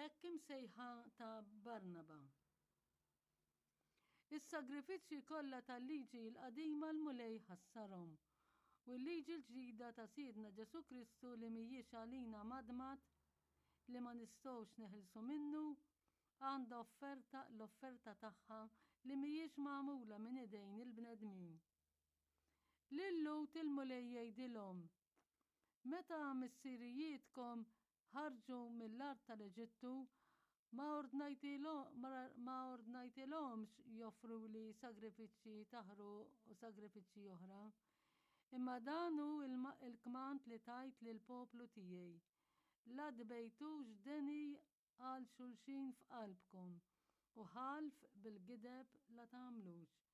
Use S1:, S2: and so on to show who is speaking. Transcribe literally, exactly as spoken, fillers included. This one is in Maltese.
S1: L-hekk imsejħa ta' Barnaba. Is-sagrifiċċji kollha tal-liġi l-qadima l-Mulej ħassarhom, u l-liġi l-ġdida ta' Sidna Ġesù Kristu li mhijiex għalina madmad li ma nistgħux neħilsu minnu, għandha offerta l-offerta tagħha li mhijiex magħmula minn idejn il-bnedmin. Lil-Lhud il-Mulej jgħidilhom: Meta missirijietkom ħarġu mill-art tal-Eġittu, ma ordnajtilhomx joffruli sagrifiċċji ta' ħruq u sagrifiċċji oħra. Imma dan hu il-kmand li tajt lill-poplu tiegħi. La tbejtux deni għal xulxin f'qalbkom u ħalf bil-gideb la tagħmlux.